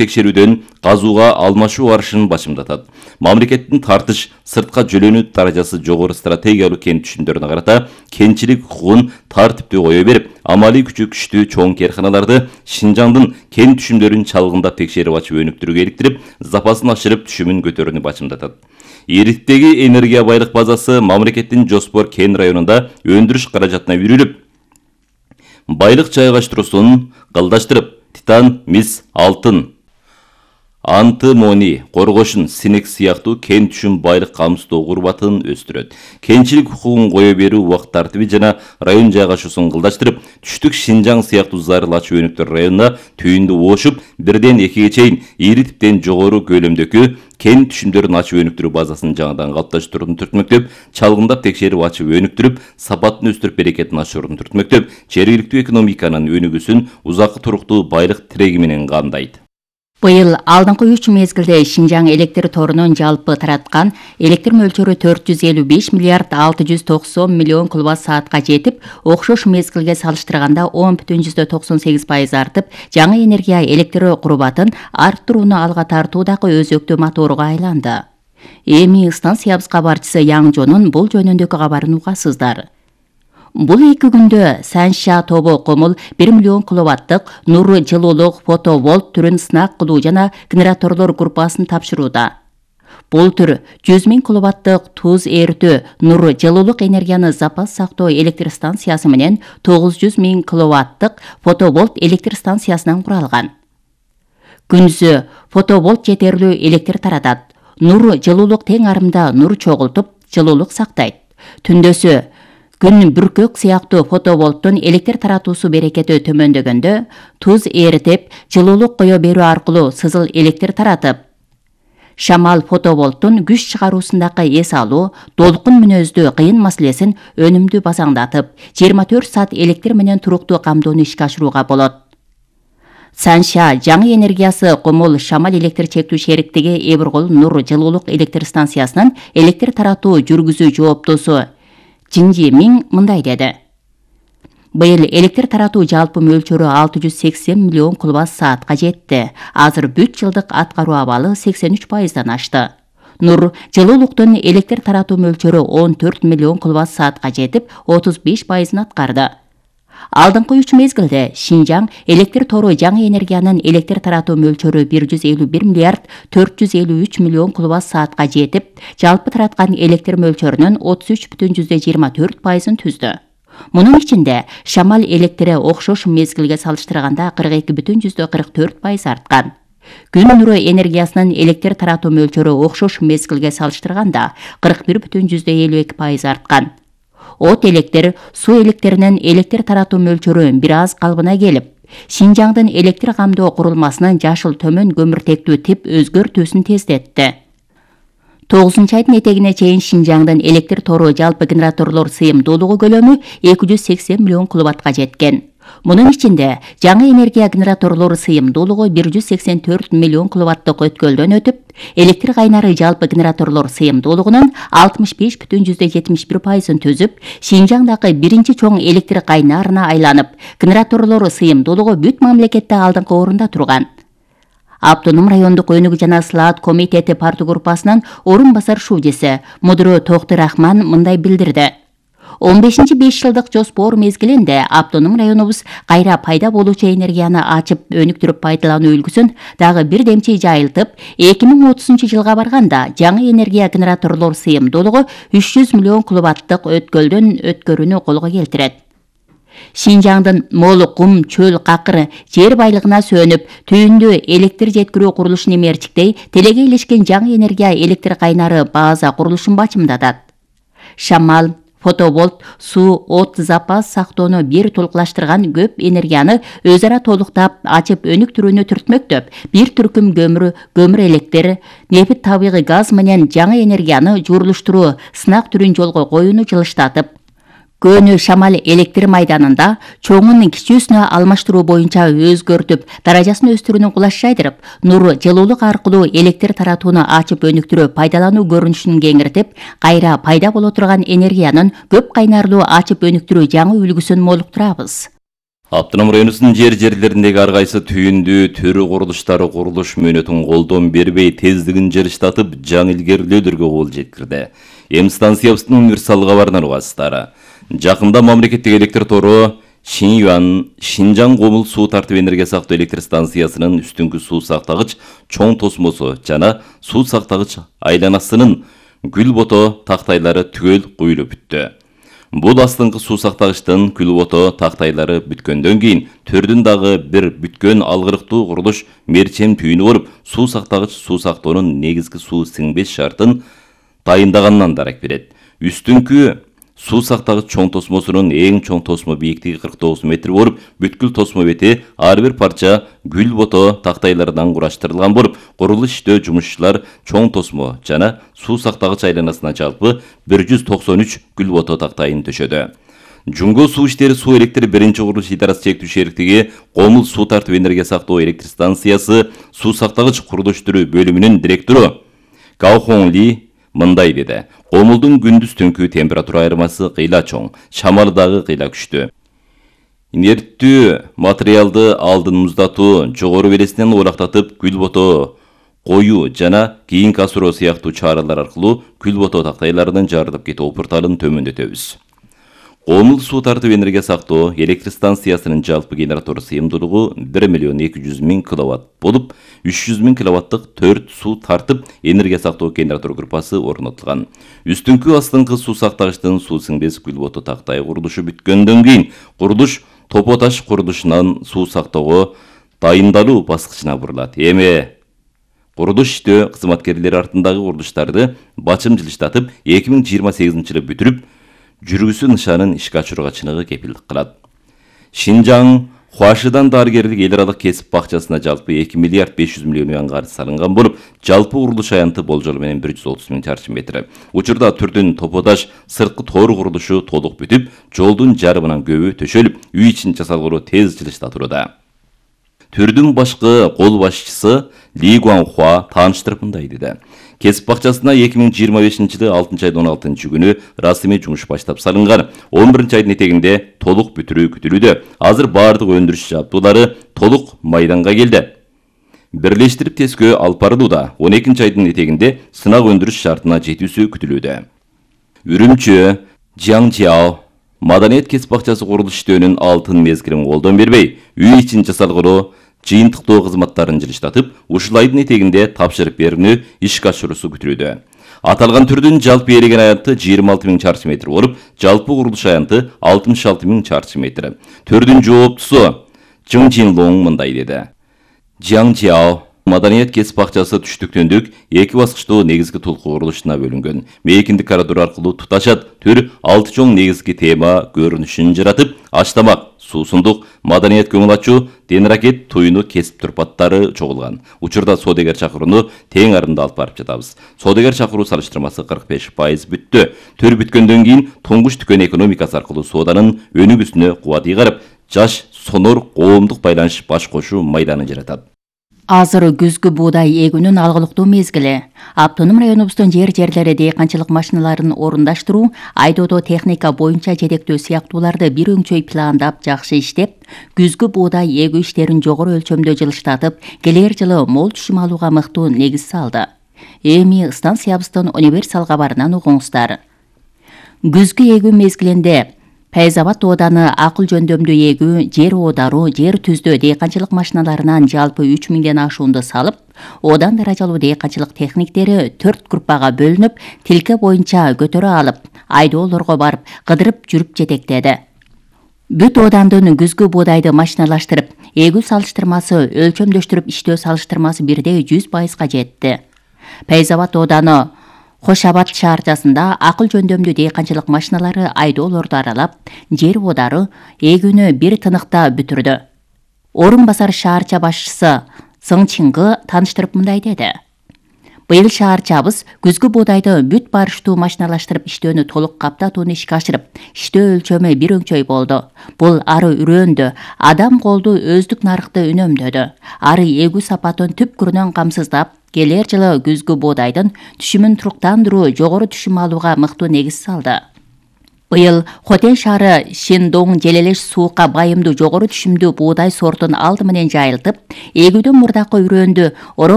текшерүүдөн казууга алмашуу барышын башымдатат. Мамлекеттин тартыш сыртка жөлөнүү даражасы жогору стратегиялык кен түшүмдөрүнө карата кенчилик укугун тартиптүү кое берип, амалий күчү күчтүү чоң керканаларды Шинжаңдын кен түшүмдөрүн чалгындап текшерип ачып өнүктүрүүгө иликтирип, запасын ашырып түшүмүн көтөрүүнү башымдатат. Ириктеги энергия байлык базасы мамлекеттин Жоспор кен районунда өндүрүш каражатына үйрүлүп, байлык жайгаштыруусун кылдаштырып, титан, мис, алтын, антимоний, коргошун, синек сыяктуу кен түшүм байлык камсыздоо курбатын өстүрөт. Кенчилик укугун кое берүү убакыт тартиби жана район жайгашуусун кылдаштырып, түштүк Шинжаң сыяктуу зарыл ачуу өнүктөр районуна түйүндү ошуп, 1-2 чейин ири типтен жогору көлөмдөгү кен түшүмдөрүн ачып өнүктүрүү базасын жаңадан калыпташтырууну түртмөктөп, чалгындап текшерип ачып өнүктүрүп, сапатын өстүрүп берекетин ашырууну түртмөктөп, жергиликтүү экономиканын өнүгүүсүн узаккы туруктуу байлык тиреги менен камдайт. Быйыл алдыңкы 3 мезгилде Шинжаң электр торунун жалпы тараткан электр мөлчөрү 455 миллиард 690 миллион киловатт саатка жетип, окшош мезгилге салыштырганда 10,98% артып, жаңы энергия электр курбатын арттырууну алга тартуу дагы өзөктүү моторуга айланды. Эми станциябыз кабарчысы Яңжонун бул жөнүндөгү кабарын угасыздар. Бул 2 күндө Санша тобу Комул 1 миллион киловаттык нур жылуулук фотоволт түрүн сынак кылуу жана генераторлор группасын тапшырууда. Бул түр 100 000 киловаттык туз эртөө нур жылуулук энергияны запас сактоо электр станциясы менен 900 000 киловаттык фотоволт электр станциясынан куралган. Күнүзү фотоволт жетерлүү электр таратат. Нур жылуулук тең арымда нур чогултуп, жылуулук сактайт. Түндөсү күн бүркөк сыяктуу фотоволттун электр таратуусу берекети төмөндөгөндө, туз эритип, жылуулук кое берүү аркылуу сызыл электр таратып, шамал фотоволттун күч чыгаруусундагы эс алуу, долкун мүнөздүү кыйын маселесин өнүмдүү базаңдатып, 24 саат электр менен туруктуу камдоону ишке ашырууга болот. Санша жаңы энергиясы Комул шамал электр чектүү шериктиги Эбиркол нур жылуулук электр станциясынын электр таратуу жүргүзүү жооптосу Жинжи Миң мындай деди. Быйыл электр таратуу жалпы мөлчөрү 680 миллион киловатт саатка жетти. Азыр бүт жылдык аткаруу абалы 83%дан ашты. Нур жылуулуктун электр таратуу мөлчөрү 14 миллион киловатт саатка жетип, 35%ын аткарды. Алдыңкы 3 мезгилде Шинжаң электр тору жаңы энергиянын электр таратуу мөлчөрү 151 миллиард 453 миллион киловатт саатка жетип, жалпы тараткан электр мөлчөрүнүн 33,24%ын түздү. Мунун ичинде шамал электри окшош мезгилге салыштырганда 42,44% арткан. Күн нуру энергиясынын электр таратуу мөлчөрү окшош мезгилге салыштырганда 41,52% арткан. От электр, суу электринин электр таратуу мөлчөрү бир аз калыбына келип, Шинжаңдын электр камдоо курулмасынын жашыл төмөн көмүртектүү тип өзгөртүүсүн тездетти. 9-айдын этегине чейин Шинжаңдын электр тору жалпы генераторлор сыйымдуулугу көлөмү 280 миллион киловаттка жеткен. Мунун ичинде жаңы энергия генераторлору сыйымдуулугу 184 миллион киловаттык өткөлдөн өтүп, электр кайнары жалпы генераторлор сыйымдуулугунун 65,71%ын түзүп, Шинжаңдагы биринчи чоң электр кайнарына айланып, генераторлору сыйымдуулугу бүт мамлекетте алдыңкы орунда турган. Автоном райондук өнүгүү жана слаат комитети парты группасынын орун басар шуудеси Мудро Токтурахман мындай билдирди. 15-5 жылдык жоспор мезгилинде автоном районубуз кайра пайда болуучу энергияны ачып өнүктүрүп пайдалануу үлгүсүн дагы бир демчи жайылтып, 2030 жылга барганда жаңы энергия генераторлор сыйымдуулугу 300 миллион киловаттык өткөлдөн өткөрүүнү колго келтирет. Шинжаңдын мол кум, чөл, какыр жер байлыгына сөнүп, түйүндүү электр жеткирүү курулушун эмерчиктей, телеге илишкен жаңы энергия электр кайнары база курулушун бачымдатат. Шамал, фотоволт, суу, от запас сактоону бир толукташтырган көп энергияны өз ара толуктап, ачып өнүктүрүүнү түртмөктөп, бир түркүм көмүр электр, нефт табигый газ менен жаңы энергияны жуурулуштуруу сынак түрүн жолго коюуну жылыштатып, көнү шамал электр майданында чоңун кичүүсүнө алмаштыруу боюнча өзгөртүп, даражасын өстүрүүнү кулаш жайдырып, нур жылуулук аркылуу электр таратууну ачып өнүктүрүп, пайдалануу көрүнүшүн кеңиртип, кайра пайда боло турган энергиянын көп кайнарлуу ачып өнүктүрүү жаңы үлгүсүн молуктурабыз. Автоном районунун жерлериндеги ар кайсы түйүндүү төрү курулуштары курулуш мөөнөтүн колдон бербей тездигин жарыштатып жаңы илгерилөөдөргө кол жеткирди. Эми станциябыздын универсал кабарынан угасыздар. Жакында мамлекеттик электр тору Шинжаң Комул суу тартып энергия сактоо электр станциясынын үстүңкү суу сактагыч чоң тосмосу жана суу сактагыч айланасынын күлбото тактайлары түгөл куюлуп бүттү. Бул астыңкы суу сактагычтын күлбото тактайлары бүткөндөн кийин төрдүн дагы бир бүткөн алгырыктуу курулуш мерчем түйүнү болуп, суу сактагыч суу сактоонун негизги суу сиңбес шартын дайындаганынан дарак берет. Үстүңкү суу сактагыч чоң тосмосунун эң чоң тосмо бийиктиги 49 метр болуп, бүткүл тосмо бети ар бир парча күлбото тактайлардан кураштырылган болуп, курулуш иштөө жумушчулар чоң тосмо жана суу сактагыч айланасына жалпы 193 күлбото тактайын төшөдү. Жумго суу иштери суу электр биринчи курулуш идарасы чектүү шериктиги Комул суу тартып энергия сактоо электр станциясы суу сактагыч курулуштуруу бөлүмүнүн директору Гаохон Ли мындай деди: Комулдун күндүз түнкү температура айырмасы кыйла чоң, шамалы дагы кыйла күчтүү. Инерттүү материалды алдын муздатуу, жогору белесинен олактатып күлбото коюу жана кийинки асыроо сыяктуу чаралар аркылуу күлбото тактайларынын жарылып кетүү опурталын төмөндөтөбүз. Комул суу тартып энергия сактоо электр станциясынын жалпы генератор сыйымдуулугу 1,2 миллион киловатт болуп, 300 000 киловаттык 4 суу тартып энергия сактоо генератор группасы орнотулган. Үстүңкү астыңкы суу сактагычтын суу сиңбес күлбото тактай курулушу бүткөндөн кийин курулуш Топо Таш курулушунан суу сактоого дайындалуу баскычына бурулат. Эми курулуш иштөө кызматкерлери артындагы курулуштарды бачым жылыштатып 2028-жылы бүтүрүп, жүргүсү нышанын ишке ачырууга чыныгы кепилдик кылат. Шинжаң Хуашидан дарыгерлик эл аралык кесип бакчасына жалпы 2 миллиард 500 миллион юан карыз салынган болуп, жалпы курулуш аянты болжолу менен 130 000 чарчы метр. Учурда түрдүн Топо Таш сырткы тоор курулушу толук бүтүп, жолдун жарымынан көбү төшөлүп, үй ичин жасалгылоо тез жылыштатууда. Түрдүн башкы кол башчысы Ли Гуанхуа тааныштырып мындай деди: Кесип бакчасына 2025-жылы 6-айдын 16-күнү расмий жумуш баштап салынган. 11-айдын этегинде толук бүтүрүү күтүлүүдө. Азыр баардык өндүрүш жабдуулары толук майданга келди. Бирлештирип тескөө алып барылууда. 12-айдын этегинде сынак өндүрүш шартына жетүүсү күтүлүүдө. Үрүмчү, Жиаңжиао маданият кесип бакчасы курулуш иштөөнүн алтын мезгилин колдон бербей, үй ичин жасалгылоо жыйынтыктоо кызматтарын жылыштатып, ушул айдын этегинде тапшырып берүүнү ишке ашыруусу күтүлүүдө. Аталган түрдүн жалпы ээлеген аянты 26 000 чарчы метр болуп, жалпы курулуш аянты 66 000 чарчы метр. Түрдүн жооптусу Жың Жинлоң мындай деди: Жиаңжиао маданият кесип бакчасы түштүктөндүк 2 баскычтуу негизги толку курулушуна бөлүнгөн. Мейкиндик коридор аркылуу туташат. Түр 6 чоң негизги тема көрүнүшүн жаратып, аштамак, суусундук, маданият көңүл ачуу, денракет туюну кесип турпаттары чогулган. Учурда соодагер чакырууну тең арында алып барып жатабыз. Соодагер чакыруу салыштырмасы 45% бүттү. Төр бүткөндөн кийин туңгуч дүкөн экономикасы аркылуу сооданын өнүгүүсүнө кубат ыйгарып, жаш сонор коомдук байланыш баш кошуу майданын жаратат. Азыр күзгү буудай эгүүнүн алгылыктуу мезгили. Автоном районубуздун жерлери дыйканчылык машиналарын орундаштыруу, айдоодо техника боюнча жетектөө сыяктууларды бир өңчөй пландап жакшы иштеп, күзгү буудай эгүү иштерин жогору өлчөмдө жылыштатып, келер жылы мол түшүм алууга мыктуу негиз салды. Эми станциябыздын универсал кабарынан угуңуздар. Күзгү эгүү мезгилинде Файзабад ооданы акыл жөндөмдүү эгүү, жер оодаруу, жер түздөө дыйканчылык машиналарынан жалпы 3000ден ашуунду салып, оодан даражалуу дыйканчылык техниктери 4 группага бөлүнүп, тилке боюнча көтөрө алып, айдоолорго барып, кыдырып жүрүп жетектеди. Бүт оодандын күзгү буудайды машиналаштырып, эгүү салыштырмасы, өлчөмдөштүрүп иштөө салыштырмасы бирдей 100%га жетти. Файзабад ооданы Кошабад шаарчасында акыл жөндөмдүү дыйканчылык машиналары айдоолорду аралап, жер оодары эгүүнү бир тыныкта бүтүрдү. Орун басар шаарча башчысы Сың Чингы тааныштырып мындай деди: Быйыл шаарчабыз күзгү буудайды бүт барыштуу машиналаштырып иштөөнү толук каптатууну ишке ашырып, иштөө өлчөмү бир өңчөй болду. Бул ары үрөөндү, адам колду өздүк нарыкты үнөмдөдү. Ары эгүү сапатын түпкүрүнөн камсыздап, келер жылы күзгү буудайдын түшүмүн туруктандыруу, жогору түшүм алууга мыктуу негиз салды. Быйыл Хотен шаары Шендоң желелеш суукка байымдуу жогору түшүмдүү буудай сортун алды менен жайылтып, эгүүдөн мурдакы үрөндү орон